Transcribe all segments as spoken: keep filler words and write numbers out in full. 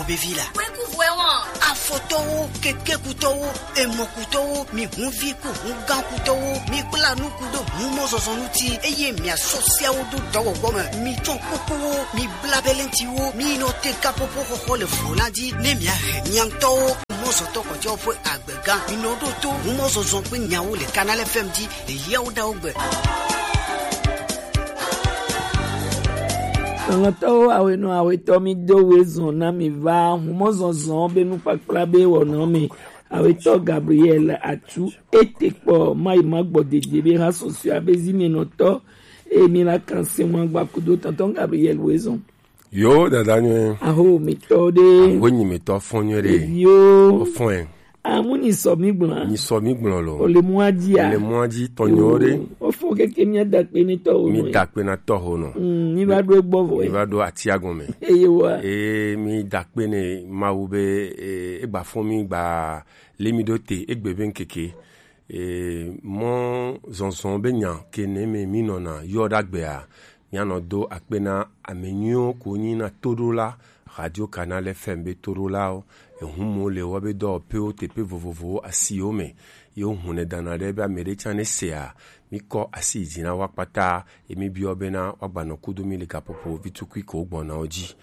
Vevi la. Kweku vɔe wɔn. Afɔtɔwo, kekekutɔwo, emɔkutɔwo, mi hunvi ku hungãkutɔwo, mi kpla nuku ɖo humɔzɔzɔ ŋuti, eye miasɔ siawo ɖo dɔwɔwɔ me. Mi tsɔ kukuwo, mi bla belentiwo, mi nɔ te kapopo xɔxɔ le vlo la dzi, ne miahe mia ŋutɔwo mɔzɔtɔ kɔjɔ ƒe agbega. Mi nɔ ɖo to humɔzɔzɔ ƒe nyawo le Canal F M dzi. Eyawo ɖawo gbe. Lɔlɔ̃tɔwo, awenɔ awetɔ, mi do we zɔn na mi va humɔzɔzɔ be nukpakpla be wɔnɔ me. Awetɔ Gabriel Atu ete kpɔ mayi magbɔ dede be ha sɔsɔa be zi mi nɔtɔ, e mi la kan se ŋu agba kudo tɔntɔn Gabriel we zɔn. Yo, dada nyuie. Aho mi tɔ de. Aho nyi mi tɔ fɔn nyuie de. Yo. Fɔn. Amu ni sɔ mi gblɔ. Ni sɔ mi gblɔ lo. O le mu adzi a. Le mu adzi tɔnyɔ de. O fɔ keke mi da kpe ni tɔ o. Mi da kpe na tɔ ho no. Mm, mi va do gbɔ vɔ. Mi va do atia gɔme. Eye wa. E mi da kpe ne Mawu be, e, e gba fɔn mi gba le mi do te egbe be nkeke. E, mɔ zɔnzɔn be nya ke ne me mi nɔna yɔ da gbe a. Míanɔ do akpe na ame nyuiwo ko nyi na toɖola Radio Canal F M be toɖolawo. Ehu mo le wɔ be dɔwɔƒewo teƒe vovovowo asiwo me. Yewo hu ne dana ɖe be ame ɖe tsã ne sea, mi kɔ asi yi dzi na wa kpata, ye mi biɔ bena woagbanɔ kudo mi le gaƒoƒo vitukui ko gbɔnawo dzi.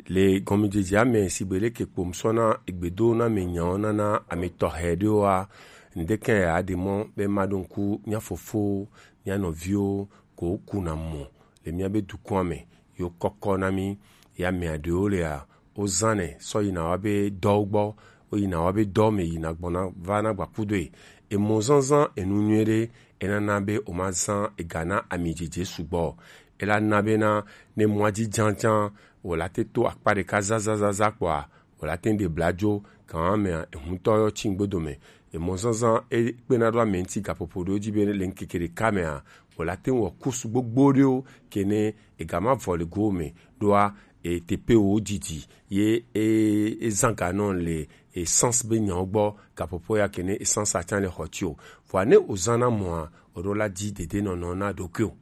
Le gɔmedzedzea me, sigbe leke kpo ŋsɔ na egbedo na ame nyawo nana ame tɔxɛ ɖewoa, ŋdeke ya ɖe mɔ be maɖo ŋku mía fofowo, mía nɔviwo ko kuna mɔ le míabe dukɔa me, yo kɔkɔ na mí, ya mea ɖewo lea, wozãnɛ sɔ yina wa be dɔwo gbɔ, woyina wa be dɔ me yina gbɔna va na gbakudoe. Emɔ zãzã enu nyuie ɖe, enana be womazã ega na ami dzedze sugbɔ. Ela na bena ne mɔa dzi dzadzã, wòla te to akpa ɖeka zazazaza kpɔa, wòla te ɖe bladzo, gama mea, ehuntɔ yɔ tsi ŋgbedo me. Emɔ zãzã ekpena ɖo ame ŋuti gaƒoƒo ɖewo dzi be le ŋkeke ɖeka mea, wòla te wɔ kusu gbogbo ɖewo ke ne ega ma vɔ le go me ɖoa, e teƒe wo didi ye e ezã ga nɔ le essence be nyawo gbɔ, gaƒoƒo ya ke ne essence atsa le xɔ tsi o. Vɔa ne wozã na mɔa, oɖo la dzi dede nɔnɔ na ɖokui o.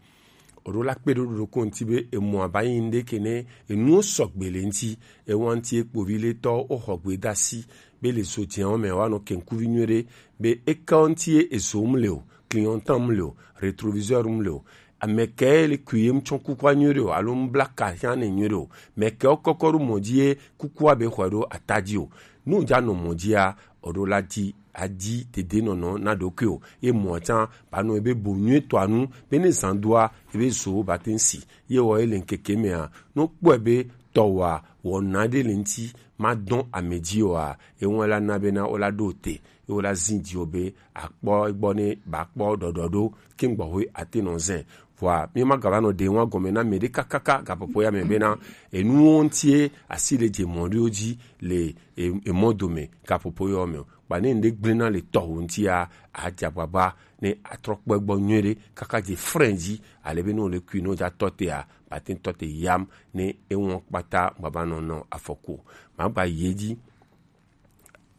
Oɖo la kpe ɖo ɖoɖo ko ŋuti be emɔa ba yi ŋɖe ke ne enuwo sɔgbe le ŋuti, ewa ŋuti ekpovi le tɔ wo xɔ gbe da si be le zo dzewo me wa nɔ kenkuvi nyuie ɖe be eka ŋuti ye ezo mu le o, clignotant mu le o, rétroviseur mu le o. Ame ke le kui ye mu tsɔ kukua nyuie ɖe o, alo mu bla ka hia ne nyuie ɖe o. Me ke wo kɔkɔ ɖo mɔ dzi ye kukua be xɔe ɖo ata dzi o. Nu ja nɔ mɔ dzia, oɖo la dzi adi dede nɔnɔ na ɖokui o. Ye mɔ tsã ba nɔ ebe bo nyuie tɔa nu be ne zan doa ebe zo ba te ŋsi. Ye wɔ ele ŋkeke mea, no kpɔe be tɔwa wɔna ɖe le ŋuti ma dɔn ame dzi oa, ye ŋu la na bena wo la ɖo te, ye wo la zi dzi o be akpɔ egbɔ ne ba kpɔ ɖɔɖɔ ɖo ke ŋgbɔ hoe ate nɔ zɛ. Vɔa mi ma gava nɔ ɖe ŋua gɔme na me ɖe kakaka gaƒoƒo ya me bena enuwo ŋutie asi le dze mɔ ɖewo dzi le e- emɔ dome gaƒoƒo yɔ me o. Kpa ne ŋɖe gblẽna le tɔwò ŋutia, adze agbagba ne atrɔ kpɔ egbɔ nyuie ɖe kaka dze frɛn dzi, ale be ne wòle kui ne wodza tɔ tea, bate ŋu tɔ te yam ne eŋɔ kpata gbava nɔ nɔ afɔku o. Magba yi edzi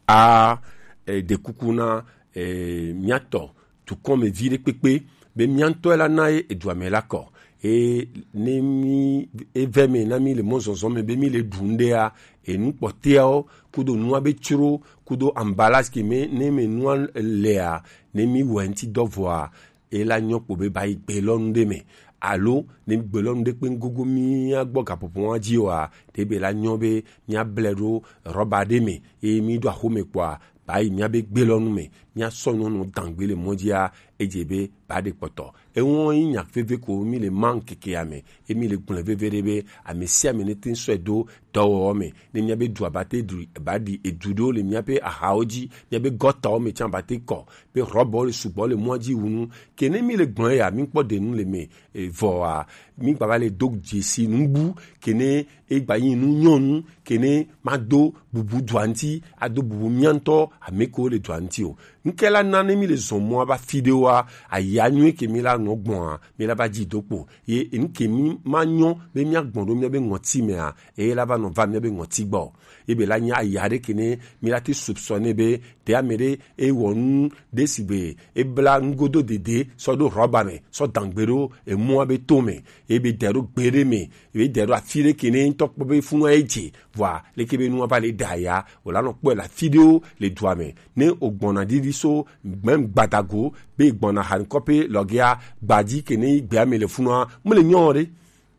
a e, ɖe kuku na e, mía tɔ dukɔ me vi ɖe kpekpe be mía ŋutɔ la na ye edua me la kɔ. Eye ne mi eve me na mi le mɔzɔzɔ me be mi le ɖu ŋɖea, enu kpɔtɛawo kudo nua be tsro kudo emballage ke me ne me nua lea, ne mi wɔ ŋuti dɔ vɔa, e la nyɔ kpo be ba yi gbe lɔnu ɖe me. Alo ne gbe lɔnu ɖe kpe gogo mía gbɔ gaƒoƒo wa dzi oa, ɖe be la nyɔ be mía ble ɖo rɔba ɖe me eye mi ɖo axome kpɔa, ba yi mía be gbe lɔnu me, mía sɔ nyɔnu dangbe le mɔ dzia, edze be ba ɖe kpɔtɔ. Eŋɔ yi nya veve ko mi le ma ŋkekea me, emi le gblẽ veve ɖe be ame sia ame ne te ŋu sɔe do dɔwɔwɔ me, ne mía be du abate du ba ɖi edu ɖewo le mía be ahawo dzi, mía be gɔtawo me tsã abate kɔ be rɔbɔwo le sugbɔ le mɔa dzi wu nu. Ke ne mi le gblẽ ya, mi kpɔ ɖe nu le me, e, vɔa, mi gbava le do dzesi nugbu, ke ne e gba yi nu nyɔnu, ke ne ma do bubu dua ŋuti, ado bubu mía ŋutɔ ame kewo le dua ŋuti o. Ŋke la na ne mi le zɔn mɔa ba fi ɖewo a aya nyuie ke mi la nɔ gbɔn a mi la va dzi do kpo ye enu ke mi ma nyɔ be mi agbɔn ɖo mi be ŋɔti mɛ a eye la va nɔ va mi be ŋɔti gbɔ. Ebe la nya aya ɖe ke ne mi la ti soupçonner be te ame ɖe e wɔ nu ɖe si be e bla nugodo dede sɔ ɖo rɔba mɛ sɔ dangbe ɖo emua be to mɛ ebe dɛ ɖo gbe ɖe mɛ ebe dɛ ɖo afi ɖe ke ne ŋutɔ kpɔ be funu e dze vɔa leke be nua va le da ya o la nɔ kpɔe le afi ɖewo le dua mɛ ne o gbɔna ɖiɖi so gbɛm gbadago be gbɔna hankɔpe lɔgea gbadzi ke ne gbea me le funua mele nyɔ ɖe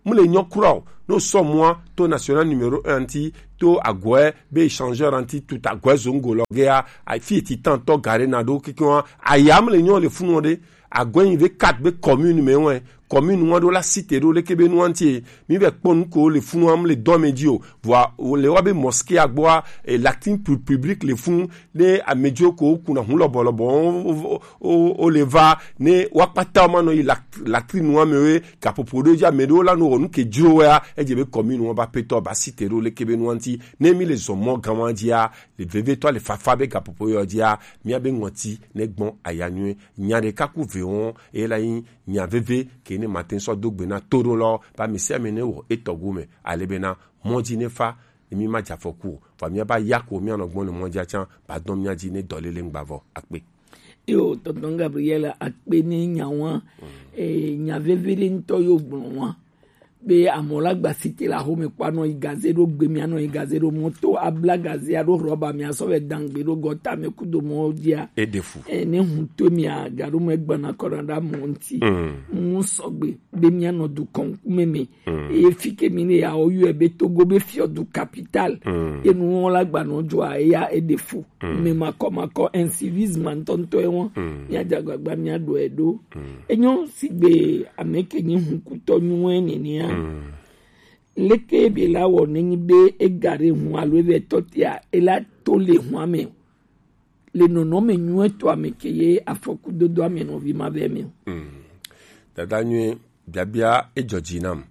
mele nyɔ kura o no sɔ mua to national numéro un ŋuti to agɔɛ be échangeur ŋuti tout agɔɛ zongo lɔgea afi eti tan tɔ gare na ɖo kekewa aya mele nyɔ le funua ɖe agɔɛ yi ve quatre be commune me wɛ commune ŋua ɖo la cité ɖo leke be nua ŋuti mi vɛ kpɔ nu ko le funu am le dɔ me dzi o vɔa o le wa be mosquée agbɔa e latin pu- public le funu ne amedzro ko kuna hu lɔbɔ lɔbɔ o- o- o- o le va ne wa kpata ma nɔ yi lak- latrine nua me we gaƒoƒo ɖo dzi ame ɖewo la no wɔ nu ke dzro wɛa edze be commune ŋua ba petɔ ba cité ɖo leke be nua ŋuti ne mi le zɔ mɔ gã wa dzia le vevetɔ le fafa be gaƒoƒo yɔ dzia mia be ŋɔti ne gbɔn aya nyuie nya ɖeka ku ve wɔn eye la yi nya veve ke ne mate sɔ do gbe na to ɖo lɔ ba mi sia mi ne wɔ etɔ go me ale be na mɔ dzi ne fa ne mi ma dza fɔku o fa mia ba ya ko mia nɔ gbɔn le mɔ dzi atsa ba dɔn mia dzi ne dɔ lele ŋgba vɔ akpe. Yo, tonton Gabriel akpe ne nya wa e, nya veve ɖe ŋutɔ yo gblɔ wa be amɔ la gba site la xome kpɔ anɔ yi gaze ɖo gbe mi anɔ yi gaze ɖo moto abla gaze aɖo rɔba mi asɔ vɛ dangbe ɖo gɔta mi kudo mɔ dzia eɖe fu e, ne ŋuto mi agaɖo me gbana kɔna ɖa mɔ ŋuti mu sɔgbe be mi anɔ du kɔnkume me eye fi ke mi ne ya o yɔ be togo be fiɔ du capital ye nu wɔn la gbanɔ dzɔa eya eɖe fu me makɔ makɔ incivisme ŋutɔŋutɔ ye wɔn mi adze agbagba mi aɖo eɖo enyo sigbe ame ke nyi hukutɔ nyuie nenea leke bi la wɔ nenyi be ega ɖe ŋu alo ebe tɔ tia ela to le ŋua me o le nɔnɔme nyuietɔ ame ke ye afɔkudodo ame nɔvi ma vɛ me o. Dada nyuie biabia edzɔ dzi nam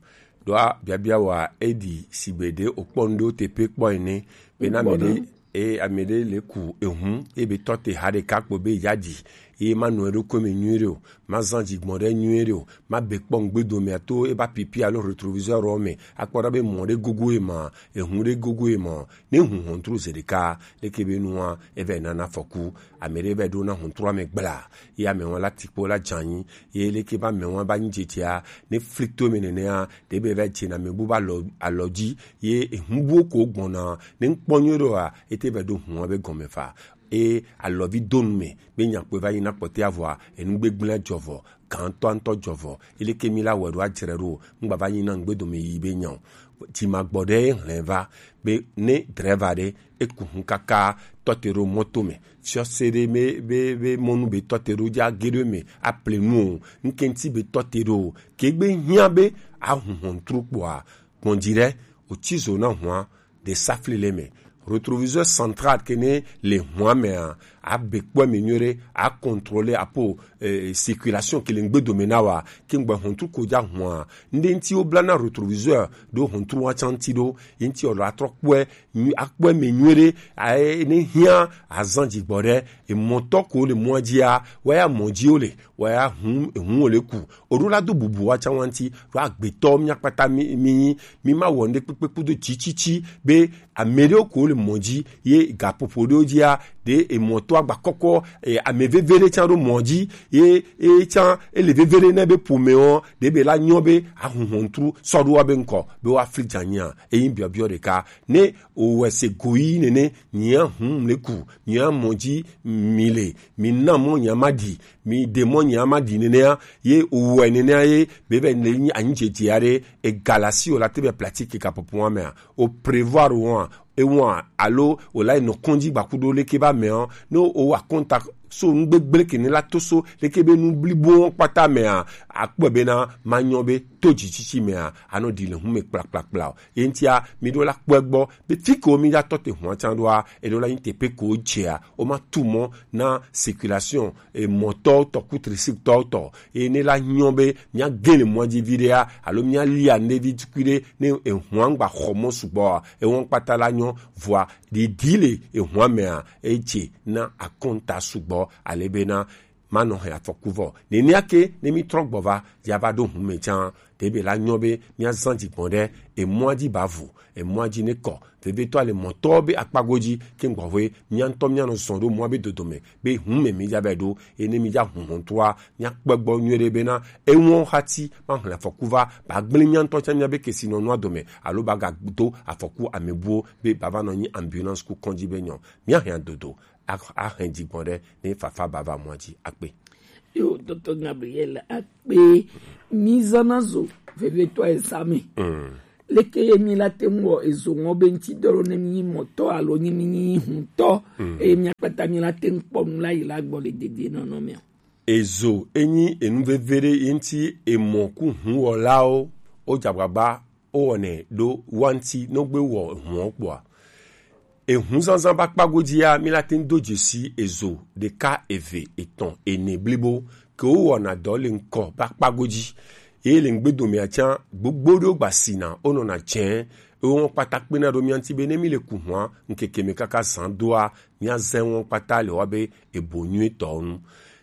ɖoa biabia wa eɖi sigbe ɖe okpɔ nu ɖewo teƒe kpɔ ene bena ame ɖe e ame ɖe le ku ehu ebe tɔ te ha ɖeka kpo be ya ɖi ye ma nɔ eɖokui me nyuie ɖe o ma zan dzigbɔn ɖe nyuie ɖe o ma be kpɔ ŋgbedomea to eba pipi alo rétroviseur me akpɔ ɖa be mɔ ɖe gogo ye ma ehu ɖe gogo ye ma ne hu hɔntru ze ɖeka leke be nua eva nana afɔku ame ɖe va ɖo na hɔntrua me gbla ye ame wɔn la tikpo la dzanyi ye leke be ame wɔn ba nyi dzedzea ne fli to me nenea ɖe be va dze na me bu ba alɔ alɔ dzi ye ehu buwo ko gbɔna ne ŋkpɔ nyuie ɖoa ete va ɖo hua be gɔme fa e alɔvi do nu me be nyakpɔe va yi na kpɔtɛ avɔa enu gbegblẽ dzɔ vɔ gãtɔ ŋutɔ dzɔ vɔ eleke mi la wɔ ɖo adzre ɖo ŋgba va yi na ŋgbe dome yi be nya o dzi ma gbɔ ɖe hlẽ va be ne dreva ɖe eku hu kaka tɔte ɖo mɔto me fiɔse ɖe me be be mɔnu be tɔte ɖo dza ge ɖo me aple nu o ŋkɛnti be tɔte ɖo o ke gbe hiã be ahu hɔntru kpɔa gbɔn dzi ɖe o tsi zo na hua de safli le me rétroviseur central ke ne le hua mea abe kpɔ me nyuie ɖe a contrôler apo eh, circulation ke le ŋgbe dome na wa ke ŋgbe hɔntru ko dza hua ŋde ŋti wo bla na rétroviseur ɖo hɔntru wa tsa ŋti ɖo ye ŋti ɔlɔ atrɔ kpɔe akpɔe me nyuie ɖe aye ne hiã azan dzigbɔ ɖe emɔtɔ ko le mɔa dzia waya mɔ dzi wo le waya hu ehu wo le ku oɖo la do bubu wa tsa wa ŋti ɖo agbetɔ mia kpata mi mi mi ma wɔ ŋde kpekpe kudo tsitsitsi be ame ɖewo ko le mɔ dzi ye gaƒoƒo ɖewo dzia ɖe emɔtɔ agba kɔkɔ e, ame veve ɖe tsa ɖo mɔ dzi ye e tsa ele veve ɖe ne be ƒome wɔ ɖe be la nyɔ be ahuhɔntru sɔ ɖo wa be ŋkɔ be wa fli dzanya eyin biɔbiɔ ɖeka ne o wɛ se goyi nene nyia hum le ku nyia mɔ dzi mi le mi na mɔ nyia ma ɖi mi de mɔ nyia ma ɖi nenea ye o wɛ nenea ye be be ne anyi dzedze aɖe egalasi o la te be platiki kapopo wa mea o prévoir wɔn ewɔn alo wòle nɔ kɔndzi gbakuɖo leke be ameɔ ne wowa kɔnta so nugbegble ke ne la to so leke be nu blibo wɔn kpata mea akpɔe bena manyɔ be to dzitsitsi mea anɔ ɖi le hume kplakplakpla o ye ŋutia mi ɖo la kpɔe gbɔ be fi ke wo mi ya tɔ te hua tsa ɖoa eɖo la yin teƒe ko dzea wo ma tu mɔ na circulation emɔtɔwo tɔ ku tricycletɔwo tɔ eye ne la nyɔ be mía ge le mɔa dzi viɖea alo mía lia nɖevi tukui ɖe ne ehua ŋgba xɔ mɔ sugbɔa ehua kpata la nyɔ vɔa ɖiɖi le ehua mea edze na akɔnta sugbɔ ale bena manɔ hɛn afɔku vɔ. Nenea ke ne mi trɔ gbɔ va, ya va ɖo hun mɛ can, ɖe be la nyɔ be mia zan dzi gbɔn ɖe emɔa dzi ba vu, emɔa dzi ne kɔ. Vevetɔ ale mɔtɔ be akpago dzi ke gbɔhwe, mia ŋutɔ mia nɔ zɔn ɖo mɔa be dodo mɛ, be hun mɛ mi dza bɛ ɖo, ene mi dza hun hɔn toa, mia kpɛ gbɔ nyuie ɖe bena ewɔn hati ma hlɛ afɔku va, ba gblẽ mia ŋutɔ can mia be kesinɔnua dome, alo ba ga do afɔku amebuwo be ba va nɔ nyi ambulance ku kɔndzi be nyɔ. Mia hɛn dodo, a, a hɛn dzi gbɔn ɖe ne fafa ba va mɔa dzi akpe. Yo, Docteur Gabriel, akpe, mi zana zo vevetɔ esa me. Mm. Leke ye mi la te ŋu wɔ ezo ŋɔ be ŋuti dɔ ɖo ne mi nyi mɔtɔ alo nyi mi nyi huntɔ, mm, eye mi akpata mi la te ŋu kpɔ nu la yi la gbɔ le dede nɔnɔ me. Ezo enyi enu veve ɖe ye ŋuti emɔ ku huwɔlawo wo dza agbagba wo wɔnɛ ɖo wa ŋuti ne wo gbe wɔ ehun kpoa. Ehun zanzan ba kpago dzia, mi la te ŋu do dzesi ezo ɖeka, eve, etɔn, ene blibo ke wo wɔna dɔ le ŋkɔ ba kpago dzi. Ye le ŋgbedomea can, gbogbo ɖewo gba sina, wo nɔna dzẽ, wo wɔn kpata kpena ɖo mia ŋuti be ne mi le ku hua ŋkeke me kaka zan doa, mia zã wɔn kpata le wa be ebo nyuie tɔ nu.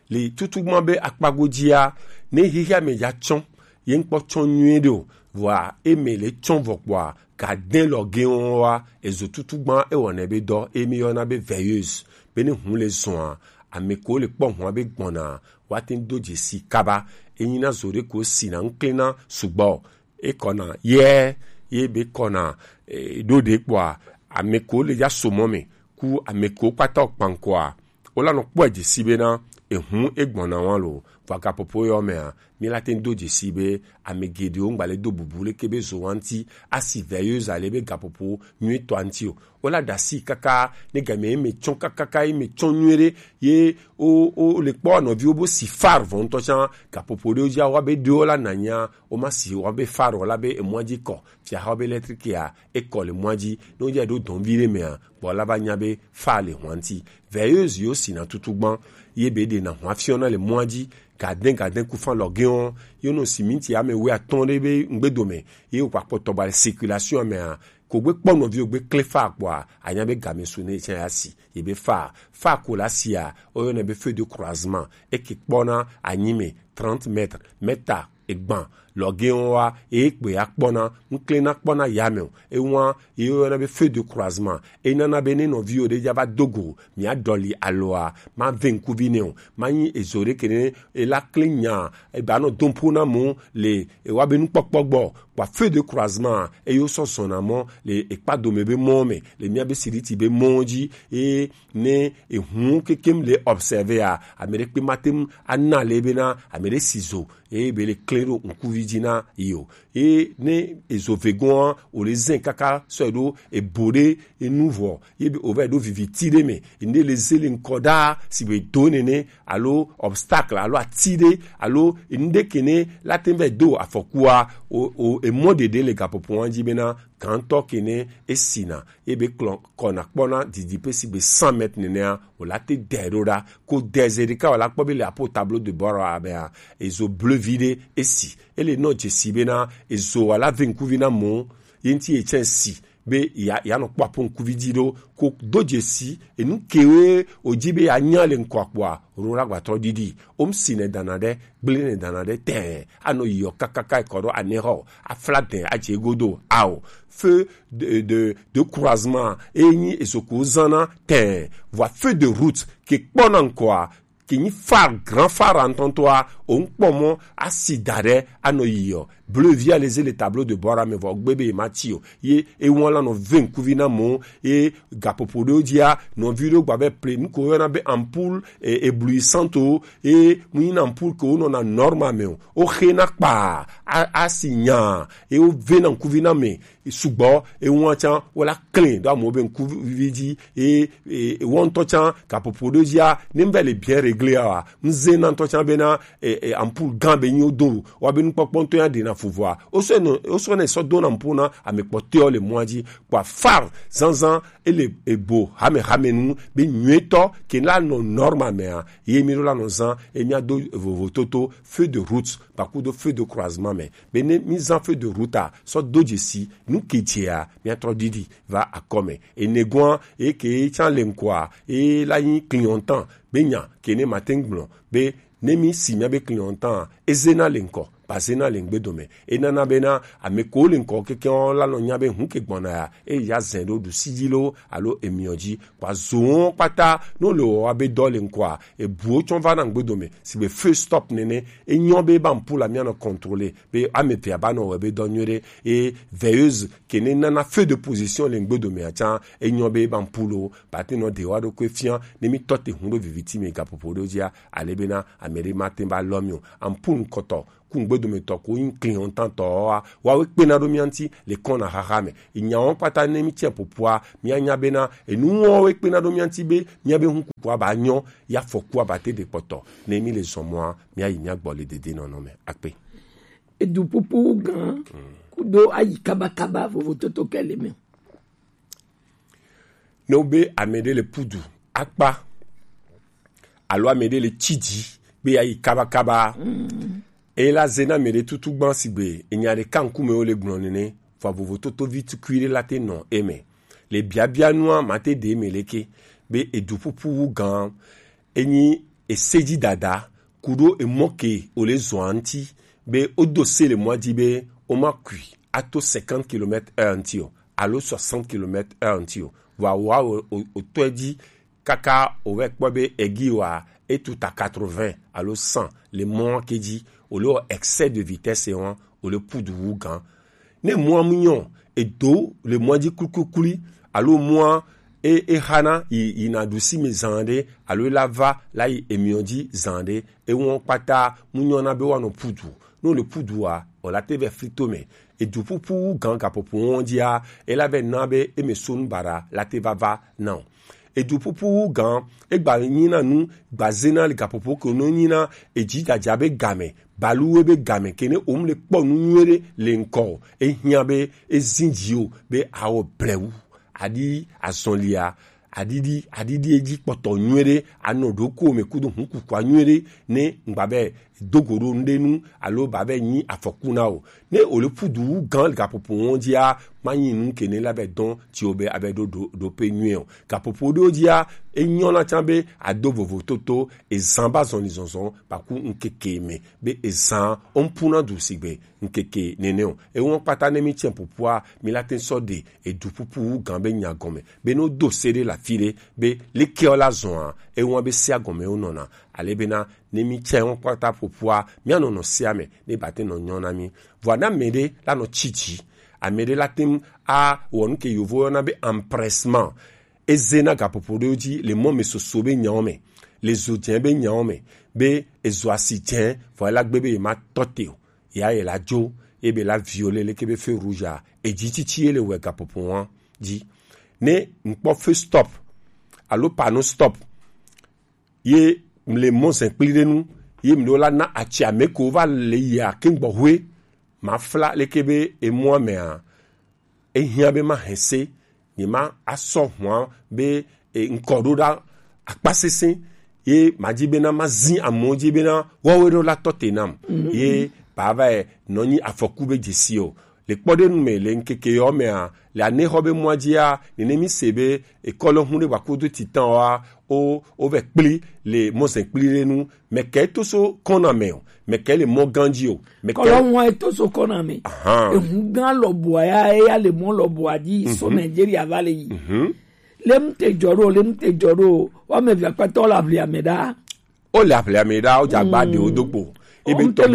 Le tutugban be akpago dzia, ne xexea me dza tsɔ, ye ŋkpɔ tsɔ nyuie ɖe o, vɔa eme le tsɔ vɔ kpɔa, ga dɛn lɔ ge wɔn wa, ezo tutugban ewɔnɛ be dɔ, emi yɔna be veilleuse, be ne hun le zɔa, ame ko le kpɔ hua be gbɔna, wa te ŋu do dzesi kaba, enyi na zo ɖe ko sina ŋklena sugbɔ, ekɔna yɛ, ye be kɔna, e, ɖo ɖe kpɔa, ame ko le dza so mɔ me, ku ame ko kpata kpankɔa, wo la nɔ kpɔe dzesi bena ehun egbɔna wa lo, vɔ gapopo yɔ mea, mi la te ŋu do dzesi be ame geɖewo ŋgba le do bubu leke be zo wa ŋuti asi veilleuse ale be gapopo nyuie tɔa ŋuti o. Wo la ɖe asi kaka ne game ye me tsɔ kakaka ye me tsɔ nyuie ɖe ye wo, wo le kpɔ nɔviwo bo si phare vɔ ŋutɔ can gapopo ɖewo dzi awa be ɖewo la nanya wo ma si wa be phare o la be emɔa dzi kɔ fia xɔ be électrique ya ekɔ le mɔa dzi ne wo dza ɖo dɔn vi ɖe mea gbɔ la va nya be phare le hua ŋuti. Veilleuse yo sina tutugban ye be ɖe na hua fiɔna le mɔa dzi gadɛn gadɛn ku fan lɔ ge wɔn ye no siminti ame wui atɔn ɖe be ŋgbedome ye wo kpakpɔ tɔgba le circulation mea ko gbe kpɔ nɔviwo gbe kle phare kpɔa anya be game su ne tsã ya si ye be phare phare ko la sia o yɔnɛ be feu de croisement eke kpɔna anyi me trente mètres mètre egban lɔgɛwo wa eye kpe ya kpɔna ŋklena kpɔna yame o ewa ye yɔna be feu de croisement enana be ne nɔviwo ɖe dza va dogo mia dɔli aloa ma ve ŋkuvi ne o ma nyi ezo ɖe kene ela kle nya eba nɔ dompo na mo le ewa be nukpɔkpɔ gbɔ kpa feu de croisement eye wosɔ zɔna mɔ le ekpa dome be mɔ me le mia be siriti be mɔ dzi eye ne ehun kekem le observer a ame ɖe kpe ma te ŋu ana le bena ame ɖe si zo eye be le kle ɖo ŋkuvi dzi na yi o eye ne ezo vegoa o le zɛ kaka sɔ ɖo ebo ɖe enu vɔ ye be o va ɖo viviti ɖe me ene le ze le ŋkɔ ɖa si be do nene alo obstacle alo ati ɖe alo enu ɖe kene la te va do afɔkua o o emɔ ɖeɖe le gaƒoƒoa dzi bena gãtɔ kene esina ebe klɔ kɔna kpɔna didi pe si be cent mètres nenea o la te dɛ ɖo ɖa ko dɛ ze ɖeka o la kpɔ be le apo tableau de bord abea ezo bleu vi ɖe esi ele nɔ dzesi bena ezo wa la ve ŋkuvi na mo ye ŋti etsɛ si be ya ya nɔ kpɔ apo ŋkuvi dzi ɖo ko do dzesi enu kewe o dzi be ya nya le ŋkɔ akpɔa ro la gbatɔ ɖiɖi o ŋsi ne dana ɖe gble ne dana ɖe tɛ anɔ yiyɔ kakaka ekɔ ɖo anɛ xɔ afla dɛ adze godo ao feu de de de croisement enyi ezoko zana tɛ vɔ feu de route ke kpɔna ŋkɔa ke nyi phare grand phare ŋtɔŋtɔa o ŋkpɔ mɔ asi da ɖe anɔ yiyɔ bleu via les le tableau de bord ame vɔ gbe be ma ti o ye ewan la nɔ ve ŋkuvi na mo ye gaƒoƒo ɖewo dzia nɔvi ɖewo gba be ple nu ko yɔna be ampoule e, éblouissante o ye mu nyina ampoule ke wonɔna normal me o woxe na kpa a- asi nya ye wove na ŋkuvi na me sugbɔ ewan can wola klẽ ɖo amewo be ŋkuvi dzi ye e- ewɔ ŋutɔ can gaƒoƒo ɖewo dzia ne mbe le bien réglé a wa ŋze na ŋutɔ can bena e- e- ampoule gã be nyi wodo wa be nukpɔkpɔ ŋutɔ ya ɖena fuvua. Oso ne oso ne sɔ dona mpo na ame kpɔtɔewo le mɔa dzi. Kpa far zanzan ele ebo hame hame nu be nyuietɔ ke la nɔ normal mea, ye mi ɖo la nɔ zan e mia do vovototo feu de route ba kudo feu de croisement me. Be ne mi zan feu de route a sɔ do dzesi nu ke dzea mia trɔ didi va akɔme. Enegoa eke tsan le ŋkɔa e la nyi clignotant be nya ke ne ma te ŋgblɔ be ne mi si mia be clignotant a ezena le ŋkɔ ba zena le ŋgbe dome. Enana bena ame ko le ŋkɔ keke la nɔ nya be hu ke gbɔna ya e ya zɛn ɖo ɖusi dzi lo alo emiɔ dzi. Kpa zowo kpata no le wɔ wa be dɔ le ŋkɔa ebuwo tsɔ va na ŋgbe dome sigbe feu stop nene. Enyɔ be ba ŋpu la mia nɔ contrôler be ame vea ba nɔ wɔ be dɔ nyuie ɖe e veilleuse ke ne nana feu de position le ŋgbe dome a tsan enyɔ be ba ŋpu lo ba te nɔ de wa ɖo ko fia ne mi tɔ te hu ɖo viviti me gapopo ɖo dzia ale bena ame ɖe ma te ba lɔ mi o. Ampu ŋkɔtɔ ku ŋgbe dome tɔ ko yin clignotant tɔ wa wa we kpena ɖo mia ŋti le kɔna xaxa me. Enyawo kpata ne mi tiɛ popua mia nya bena enu wo we kpena ɖo mia ŋti be mia be hu kukua ba nyɔ ya fɔkua ba te de kpɔtɔ ne mi le zɔn mɔa mia yi mia gbɔ le dede nɔnɔ me akpe. Edu pupu gan kudo ayi kabakaba vovototo ke le me. Ne wo be ame ɖe le pudu akpa alo ame ɖe le tsi dzi be ya yi kabakaba e la ze na ame ɖe tutu gban sigbe enya ɖeka ŋkume wo le gblɔ nene. Vɔ vovototo vi tukui ɖe la te nɔ eme le biabia nua ma te de eme leke be edu pupu wu gan enyi eseji dada kuɖo emɔ ke wòle zɔa ŋti be wodo se le mɔa dzi be woma kui ato cinquante kilomètres heure ŋti o alo soixante kilomètres heure ŋti o. Vɔa wòtɔe dzi kaka wòvɛ kpɔ be egi wa etu ta quatre-vingts alo cent le mɔa ke dzi wòle wɔ excès de vitesse wɔn wòle pudu wu gan. Ne mɔa mu nyɔ edo le mɔa dzi kulikuli alo mɔa e e hana yi yi na ɖusi me zan ɖe alo e la va la yi emiɔ dzi zan ɖe ewɔn kpata mu nyɔ na be wa nɔ pudu. Ne wòle pudu wa wòla te vɛ flito me. Edu pupu wu gan gaƒoƒo wɔn dzia e la vɛ na be eme so nu baɖa la te va va na o. Edu pupu wu gan egba nyina nu gbazena le gaƒoƒo ke no nyina edzi dzadza be game baluwe be game ke ne wom le kpɔ nu nyuie ɖe le ŋkɔ o. Ehiã be ezi dzi o be awɔ blewu aɖi azɔlia aɖiɖi aɖiɖi edzi kpɔtɔ nyuie ɖe anɔ ɖokuiwò me kudo hukukua nyuie ɖe ne ŋgba be do go ɖo ŋɖe nu alo ba be nyi afɔku na o. Ne wòle pudu wu gan gaƒoƒo wɔn dzia manyi nu ke ne la be dɔn tsi wo be abe ɖo ɖo ɖo pe nyuie o. Gaƒoƒo ɖewo dzia enyɔ na tsã be ado vovototo ezan ba zɔnli zɔnzɔn ba ku ŋkeke me be ezan wo ŋpuna du sigbe ŋkeke nene o. Ewɔn kpata ne mi tsɛ popua mi la te sɔ ɖe edu pupu wu gan be nya gɔme be no do se ɖe la fi ɖe be leke ɔ la zɔn a ewɔn be sia gɔme wo nɔna ale bena ne mi tsɛ wɔn kpata popua mia nɔ nɔ sia me ne ba te nɔ nyɔ na mi. Vɔa na me ɖe la nɔ tsi dzi ame ɖe la te a wɔ nu ke yovo yɔna be empressement. Eze na gaƒoƒo ɖewo dzi le mɔ me soso be nyawo me le zo dzẽ be nyawo me be ezo asi dzẽ vɔ ela gbe be yema tɔ te o. Ya ye la dzo ebe la viole leke be feu rouge a edzi tsitsi ye le wɛ gaƒoƒo wa dzi. Ne ŋkpɔ feu stop alo panneau stop ye mle mɔ zẽ kpli ɖe nu ye mle la na atsi ame ko va le yia ke gbɔ hoe ma fla leke be emɔa mea ehiã be ma hɛse nye ma asɔ hua be e, ŋkɔ ɖo ɖa akpa sese ye ma dzi bena ma zi amewo dzi bena woawoe ɖo la tɔ te nam ye ba va yi nɔ nyi afɔku be dzesi o. Le kpɔɖenu me le ŋkeke yɔ mea le anexɔ be mɔa dzia nene mi se be ekɔlɔ hu ɖe wa kudo titan wa o o vɛ kpli le mɔzɛ kpli ɖe nu. Mɛkɛ to so kɔna mɛ o mɛkɛ le mɔ ganji o mɛkɛ kɔlɔ ŋua eto so kɔna mɛ ahan ehu gan lɔbɔa ya eya le mɔ lɔbɔa di so nigeria va le yi mhm le mu te jɔ ɖo le mu te jɔ ɖo wa mɛ via kpɛtɔ la vli amɛ ɖa o le aƒle amɛ ɖa o dza gba ɖe o do kpo ebe tɔ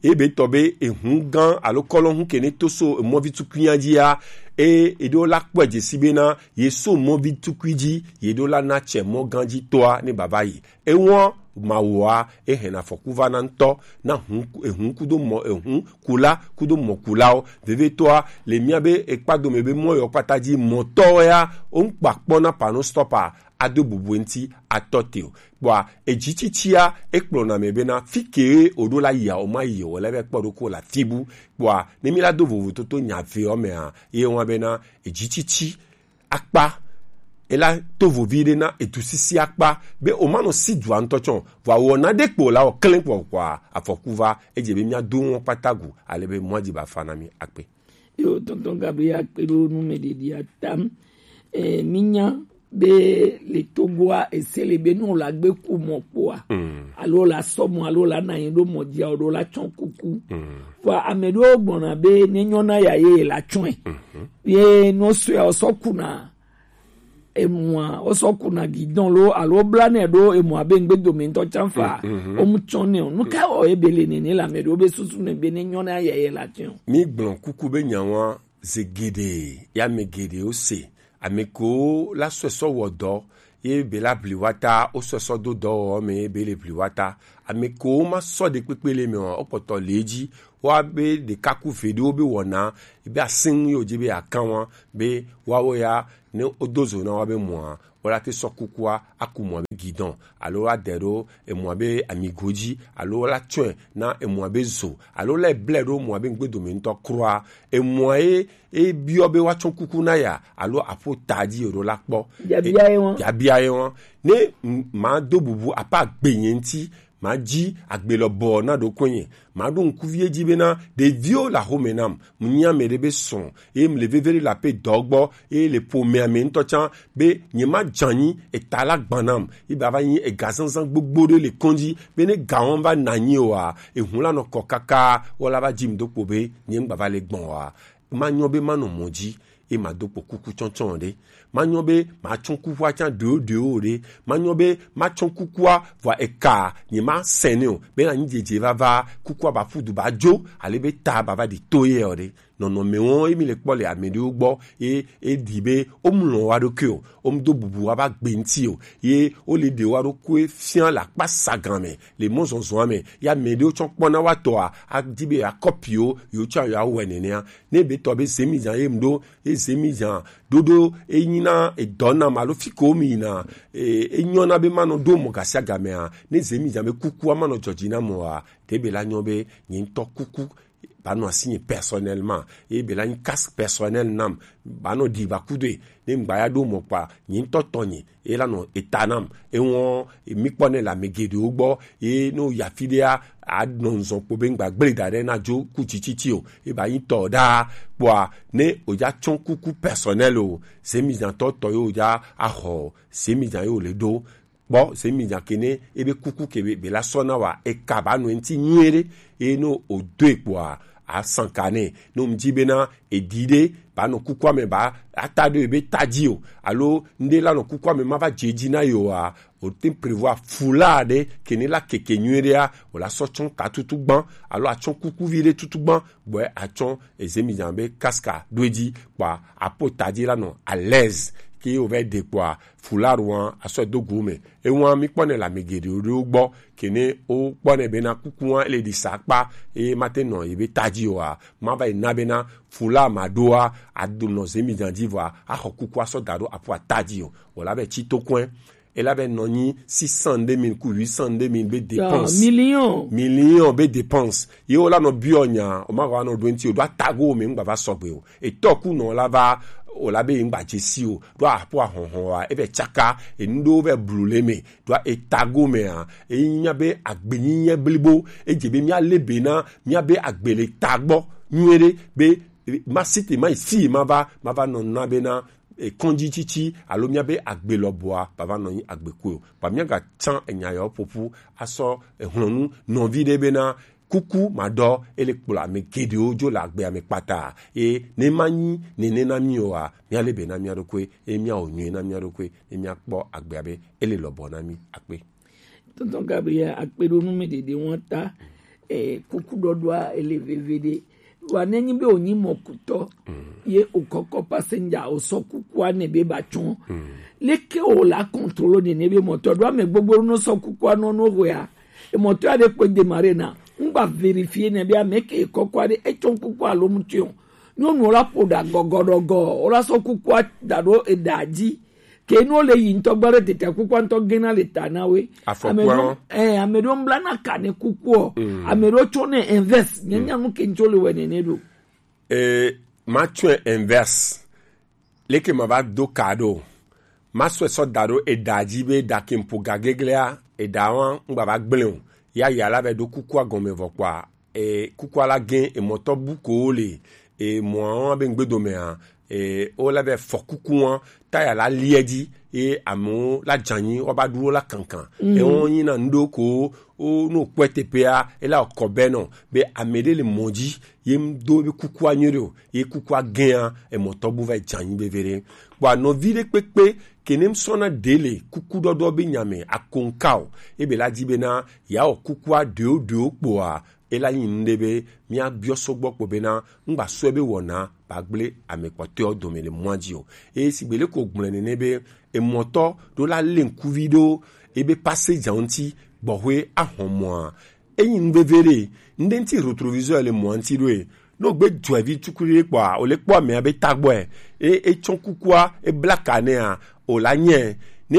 be ebe tɔ be ehu gan alo kɔlɔ hu ke ne to so emɔvi tukunya dzia e eɖewo la kpɔe dzesi bena ye so mɔvi tukui dzi ye ɖo la na tsɛ mɔ gan dzi tɔa ne baba yi ewɔn Mawu a, e hɛn afɔku va na ŋutɔ, na hun, ehun kudo mɔ, ehun kula kudo mɔkulawo. Vevietɔa, le mía be ekpadome be mɔ yɔ kpata ji mɔtɔwo ya, wo ŋkpa kpɔ na panneau stop a, ado bubu eŋti atɔ te o. Kpɔa, edzitsitsia, ekplɔna mɛ bena, fi ke o ɖo la yia, o ma yi o, le be kpɔ ɖo ko la fibu. Kpɔa, ne mi la do vovototo nya ve ɔ mɛ a, ye wa bena, edzitsitsi akpa, ela to vovi ɖe na edu sisi akpa, be o ma nɔ si dua ŋutɔ tsɔ, vɔ awɔ na ɖe kpo la o klɛn kpɔ kpɔa, afɔku va, edze be mía do ŋɔ kpata gu, ale be mɔ dzi ba fa na mi akpe. Yo, tonton Gabriel, akpe ɖo nu me ɖeɖi atam. E, mi nya be le Togoa, ese le be nu la gbe ku mɔ kpoa. Mm. Alo la sɔ mɔ, alo la na yin ɖo mɔ dzi, alo la tsɔ kuku. Mm. Vɔ ame ɖewo gbɔna be ne nyɔna ya ye la tsɔe. Mhm. Ye no sɔe o sɔ kuna emua, o sɔ kuna guidon lo, alo bla ne ɖo emua be ŋgbe dome ŋutɔ tsan fa. Mhm. O mu tsɔ ne o. Nu ka o ebe le nene la me ɖewo be susu ne be ne nyɔna ya ye la tsɔe o. Mi gblɔ kuku be nyawa ze geɖe, ya me geɖe o se. Ame kewo la sɔe sɔ wɔ dɔ, ye be la bli wa ta, wo sɔe sɔ do dɔwɔwɔ me, ye be le bli wa ta. Ame kewo ma sɔ ɖe kpekpe le me o, wo kpɔtɔ le dzi, wa be ɖeka ku ve ɖewo be wɔna, be asin yo dzi be akan wa, be wawo ya, ne wo do zo na wa be mɔa, wo la te sɔ kukua, aku mɔ be guidon, alo wa de ɖo emɔ be amigo dzi, alo wa la tsɔe na emɔ be zo, alo la blɛ ɖo mɔ be ŋgbe dome ŋutɔ kura, emɔ ye e biɔ be woatsɔ kuku na ya, alo aƒo ta dzi yeɖo la kpɔ. Biabia ye wɔn. Biabia ye wɔn. Ne m-, ma do bubu apa gbe nye ŋuti, ma dzi agbe lɔ bɔ na ɖo konye. Ma ɖo ŋkuvi edzi bena ɖeviwo le axome nam. Mu nyi ame ɖe be srɔ̃, eye mu le veve ɖe le aƒe dɔ gbɔ, eye le ƒomea me ŋutɔ tsã be nye ma dzanyi eta la gbã nam. Ye ba va nyi ega zazã gbogbo ɖe le kɔn dzi, be ne ga wɔm va na nyi oa, ehun la nɔ kɔ kaka, wɔ la va dzi mu do kpo be nye ŋgba va le gbɔn oa. Ma nyɔ be ma nɔ mɔ dzi, ye ma do kpo kuku tsɔtsɔ ɖe. Ma nyɔ be ma tsɔ kukua tsã ɖewo ɖewo ɖe. Ma nyɔ be ma tsɔ kukua vɔ eka nye ma sɛnɛ o. Be na nyi dzedze vava kukua ba ƒu du ba dzo, ale be ta ba va ɖi to ye o ɖe. Nɔnɔme wɔn ye mi le kpɔ le ame ɖewo gbɔ, ye e ɖi be wo mu lɔn wa ɖokui o, wo mu do bubu wa ba gbe ŋuti o, ye wo le ɖe wa ɖokui fia le akpa sagan me, le mɔzɔzɔa me, ya ame ɖewo tsɔ kpɔna wa tɔa, a di be ya kɔpi wo, yewo tsɔ ya wɔ nenea. Ne be tɔ be zemi zan ye mu ɖo, ye zemi zan ɖoɖo e nyi na edɔ nam alo fi ko mi yina, e, e nyɔ na be ma nɔ ɖo mɔ gasiagamea, ne zemi zan be kukua ma nɔ dzɔdzi na mɔa, ɖe be la nyɔ be nye ŋutɔ kuku ba nɔ asi nye personnellement, ye be la nyi casque personnel nam, ba nɔ ɖi ba kudoe, ne ŋgba ya ɖo mɔ kpa, nye ŋutɔ tɔ nye, ye la nɔ eta nam, ewɔn mi kpɔ ne le ame geɖewo gbɔ, ye ne wo ya fi ɖea, a nɔ nzɔ kpo be ŋgba gble da ɖe na dzo ku tsitsitsi o, ye ba nyi tɔ ɖaa, kpɔa, ne o ya tsɔ kuku personnel o, zemi zan tɔ tɔ ye o ya axɔ, zemi zan ye o le ɖo, kpɔ, zemi zan ke ne ebe kuku ke be, be la sɔ na wa, eka ba nɔ eŋti nyuie ɖe, eye ne o do e kpɔa, a sanka nɛ, ne o mu dzi bena, eɖi ɖe, ba nɔ kukua me ba, ata ɖo ebe ta dzi o, alo ŋɖe la nɔ kukua me ma va dze dzi na ye oa, o te prévoir fula ɖe, ke ne la keke nyuie ɖea, o la sɔ tsɔ ta tutu gbã, alo a tsɔ kuku vi ɖe tutu gbã, bɔɛ a tsɔ ezemi zan be casque ɖo edzi, kpɔa, a po ta dzi la nɔ à l'aise, ke o va ɖe kpɔa, fula ɖoa, a sɔ do go me. Ewa mi kpɔ ne le ame geɖewo ɖewo gbɔ, ke ne wo kpɔ ne bena kuku wa ele ɖi sa kpa, eye ma te nɔ ye be ta dzi oa, ma va yi na bena fula ma ɖoa, a do nɔ zemi zan dzi vɔa, a xɔ kuku a sɔ da ɖo aƒua ta dzi o. O la be tsi to kɔe. E la be nɔ nyi six cent deux mille ku huit cent deux mille be dépense. Million. Million be dépense. Ye o la nɔ biɔ nya, o ma va nɔ ɖo eŋti o, ɖo atago me ŋgba va sɔgbe o. Etɔ ku nɔ la va, o la be ŋgba dze si o. Ɖo aƒo ahɔhɔ wa, e vɛ tsaka, enu ɖewo vɛ blu le me. Ɖo etago mea, e nya be agbenyinyɛ blibo, e dze be mía le be na, mía be agbe le ta gbɔ nyuie ɖe, be, e, ma si te ma yi fi ma va, ma va nɔ na be na, e, kɔndzi tsitsi, alo mía be agbe lɔbɔa, ba va nɔ nyi agbe koe o. Ba mía ga tsã enya yawo ƒoƒu, asɔ, e, hlɔnu nɔvi ɖe be na, kuku maɖɔ, ele kplɔ ame geɖewo dzo le agbea me kpata. Eye ne manyi nene na mí oa, míale be na mía ɖokui, eye míawɔ nyuie na mía ɖokui, eye míakpɔ agbea be ele lɔbɔ na mí. Akpe. Tonton Gabriel, akpe ɖo nu me ɖeɖe wɔn ta. Eh, kuku ɖɔɖɔa ele veve ɖe. Wa ne nyi be wonyi mɔkutɔ ye wokɔkɔ passenger wosɔ kukua ne be ba tsɔn. Leke wo la contrôle ne ne be mɔtɔ ɖo ame gbogbo no sɔ kukua no no hwea. E mɔtɔ ya ɖe kpe démarrer na. Ŋgba vérifier ne be ame ke kɔkɔ ɖe etsɔn kukua lo mu tsɔn. Nyɔnu la ƒo ɖa gɔgɔɖɔgɔ, wola sɔ kukua da ɖo eɖa dzi. Ke no le yi ŋutɔ gba ɖe tete kukua ŋutɔ gena le ta na we. Afɔkua. Ame ɖewo, eh, ame ɖewo ŋbla na ka ne kukua. Ame ɖewo tsɔ ne invest. Nye nya nu ke ŋutso le wɛ nene ɖo. E, ma tsɔe invest. Leke ma va do ka ɖo. Ma sɔe sɔ da ɖo eɖa dzi be eɖa ke ŋpo gageglea, eɖa wa ŋgba va gblẽ o. Ya ya la va ɖo kukua gɔme vɔ kpɔa. E, kukua la gẽ emɔtɔ bu ko wo le emɔa wa be ŋgbedomea. E, wo la va fɔ kuku wa ta ya la liɛ dzi. E, amewo la dzanyi wa ba ɖu wo la kankan. Ewo nyi na ŋɖo ko wo no kpɔe teƒea ela kɔ be nɔ be ame ɖe le mɔ dzi ye ŋdo be kukua nyuie ɖe o ye kukua gẽa emɔtɔ bu va dzanyi be ve ɖe. Kpɔ anɔvi ɖe kpekpe ke ne ŋsɔna ɖe le kuku ɖɔɖɔ be nyame akonka o. Ebe la dzi be na ya wɔ kukua ɖeo ɖeo kpɔa ela nyi nu ɖe be mía biɔ sɔgbɔ kpɔ be na ŋgba sɔe be wɔna ba gblẽ ame kpɔtɔewo dome le mɔa dzi o. Eye sigbe le ko gblẽ nene be emɔtɔ ɖo la le ŋkuvi ɖo ebe passenger ŋuti gbɔxwe ahɔn mɔa. Enyi nu veve ɖe, ŋɖe ŋti rétroviseur le mɔa ŋti ɖo e. No gbe dzɔevi tukui ɖe kpɔa, o le kpɔ amea be tagbɔe. E, etsɔ kukua, ebla ka nea, o la nyɛ. Ne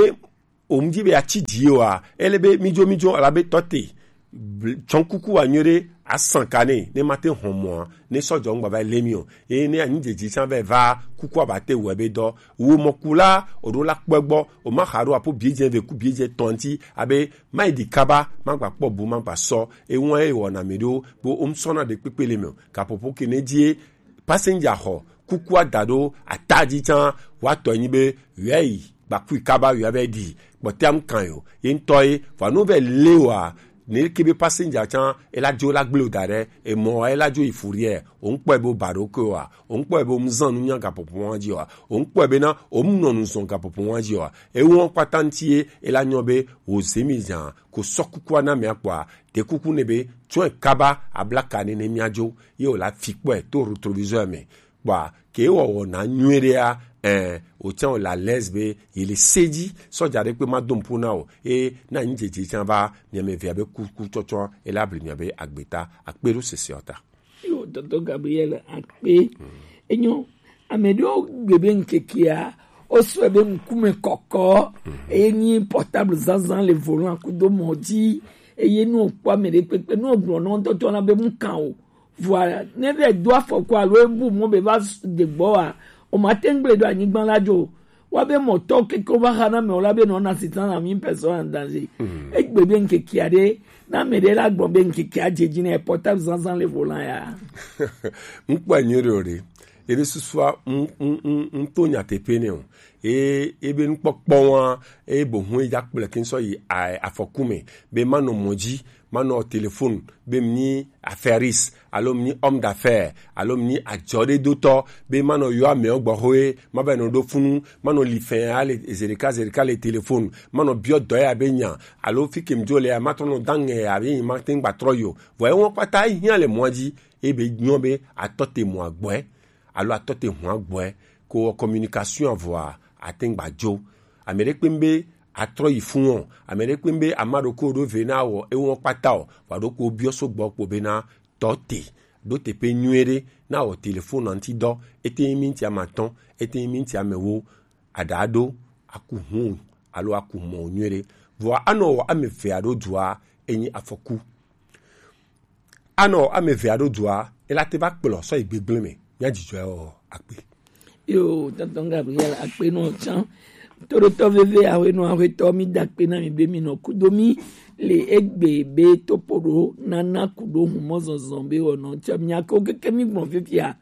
o mu dzi be atsi dzi o a, ele be mi dzo, mi dzo, ala be tɔ te. Bl-, tsɔ kuku wa nyuie ɖe, asan ka ne, ne ma te hɔn mɔa, ne sɔdzɔ ŋgba va le mi o. Eye ne anyi dzedzi tsã va va, kukua ba te wɔ ebe dɔ. Wo mɔ ku la, o ɖo la kpɔe gbɔ, o ma xa ɖo apo biedze ve ku biedze tɔnti, abe ma yi ɖi kaba, ma gba kpɔ bu, ma gba sɔ. Ewa ye wɔna mi ɖo, bo o ŋsɔna ɖe kpekpe le mi o. Kapopo ke ne die, passenger xɔ, kukua da ɖo ata dzi tsã, wa tɔ nyi be, yɔ yi, gba kui kaba yɔ be ɖi, kpɔtɛa ŋkan yo, ye ŋtɔ ye, vɔ no ve le wa, ne ke be passenger tsã, ela dzo la gblẽ o da ɖe, emɔ ela dzo yi fourrière, o ŋkpɔe be o ba ɖo ke wa, o ŋkpɔe be o mu zan nu nya gaƒoƒo wa dzi wa, o ŋkpɔe be na o mu nɔ nu zɔn gaƒoƒo wa dzi wa, ewo kpata ŋti ye, ela nyɔ be o ze mi zan, ko sɔ kukua na mia kpɔa, de kuku ne be, tsɔe kaba, abla ka ne ne mia dzo, ye o la fi kpɔe to rétroviseur me, kpɔa, ke wɔwɔ na nyuie ɖea, ɛ, o tsã o la lɛs be, ye le se dzi, sɔdza ɖe kpe ma do ŋpo na o, e, na nyi dzedze tsã va, mia me via be kuku tsɔtsɔ, e la bli mia be agbeta, akpe ɖo sese ɔ ta. Yo, Docteur Gabriel, akpe. Enyo, ame ɖewo gbe be ŋkekea, o sɔe be ŋkume kɔkɔ, eye nyi portable zazan le volant kudo mɔ dzi, eye nu o kpɔ ame ɖe kpekpe, nu o gblɔ nɔ ŋutɔ na be mu kan o. Vɔa, ne vɛ do afɔku alo ebu mɔ be va s-, de gbɔ wa, o ma te ŋgble ɖo anyigba la dzo. Wa be mɔtɔ keke va xa na me o la be nɔ na sitan na mi personne en danger. Egbe be ŋkekea ɖe, na me ɖe la gbɔ be ŋkekea dze dzi ne portable zazan le volant ya. Ŋkpɔ nyuie ɖe o ɖe. Ebe susua, ŋ-, ŋ-, ŋ-, ŋto nyateƒe ne o. E, ebe nukpɔkpɔ wa, e bohun e dza kple ke ŋsɔ yi a-, afɔku me. Be manɔ mɔ dzi, manɔ téléphone, be mi nyi affairis, alo mi nyi homme d'affaires, alo mi nyi adzɔɖedotɔ, be manɔ yɔ amewo gbɔ hoe, ma va nɔ ɖo funu, manɔ li fɛn ale zerika zerika le téléphone, manɔ biɔ dɔ ya be nya, alo fi ke mi dzo le ya, ma trɔ nɔ da ŋɛ ya be ma te ŋgba trɔ yi o. Vɔ ewɔ kpata hiã le mɔa dzi, ebe nyɔ be atɔ te mɔ agbɔɛ, alo atɔ te hɔn agbɔɛ, ko wɔ communication avɔa, ate ŋgba dzo. Ame ɖe kpe be atrɔ yi fun o, ame ɖe kpe be ama ɖo ko ɖo ve na wɔ, ewɔ kpata o, wa ɖo ko biɔ so gbɔ kpo be na tɔ te, ɖo teƒe nyuie ɖe, na wɔ téléphone ŋuti dɔ, ete nyi minti amatɔn, ete nyi minti amewo, aɖa ɖo, aku hun, alo aku mɔ nyuie ɖe. Vɔa anɔ wɔ ame ve aɖo dua, enyi afɔku. Anɔ ame eve aɖo dua, ela te va kplɔ sɔ yi gbegblẽ me. Mía dzidzɔe wɔ akpe. Yo, tonton Gabriel, akpe nɔ tsã. Toɖotɔ veve awe nɔ awe tɔ mi da akpe na mi be mi nɔ kudo mi le egbe be topo ɖo nana kudo humɔ zɔzɔ be wɔ nɔ tsã mi ako keke mi gbɔn fifia.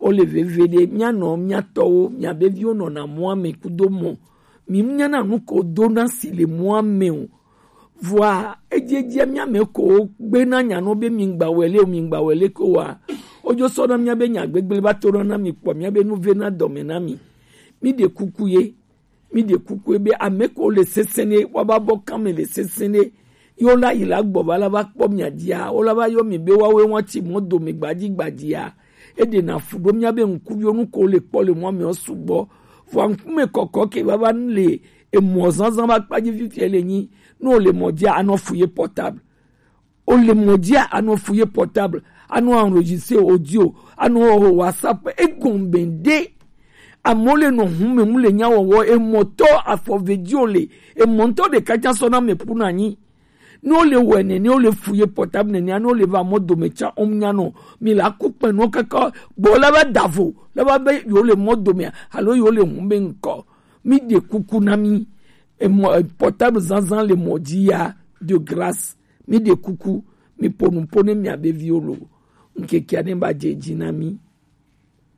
O le veve ɖe mía nɔ mía tɔwo mía be viwo nɔ na mɔa me kudo mɔ. Mi nya na nu ko do na si le mɔa me o. Vɔa, edziedzia mía me ko gbe na nya nɔ be mi ŋgba wɛ le o, mi ŋgba wɛ le ko wa. Ojo sɔ na mía be nya gbegble va to na mi kpɔ, mía be nu ve na dɔme na mi. Mi ɖe kuku ye, mi ɖe kuku ye be ame ko le sese ne, wa ba bɔ kan me le sese ne. Yo la yi la gbɔ va la va kpɔ mia dzia, o la va yɔ mi be wa we wa tsi mɔ dome gbadzi gbadzia. E ɖe na fu ɖo mía be ŋkuviwo nu ko le kpɔ le mɔ mɛ sugbɔ. Vɔ ŋkume kɔkɔ ke va va le emɔ zanzan va kpa dzi fifia le nyi. Ne o le mɔ dzi a, anɔ fu ye portable. O le mɔ dzi a, anɔ fu ye portable. Anɔ enregistrer audio. Anɔ wɔ WhatsApp. Egɔn bɛn de. Amewo le nɔ hun mɛ mu le nya wɔwɔ. Emɔtɔ afɔ ve dzi o le. Emɔ ŋutɔ ɖeka tsã sɔ na mɛ ƒu na nyi. Ne wole wɔe nene, wole fu ye portable nene, ne wole va mɔ dome tsa, wo nya nɔ. Mi la ku kpɛ nɔ kaka gbɔ la va da vo, la va be yo le mɔ dome, alo yo le hun be ŋkɔ. Mi de kuku na mi. E mɔ, e portable zanzan le mɔ dzi ya, de grâce. Mi de kuku, mi ponu pone mi abe viwo lo. Ŋkeke ne ba dze dzi na mi.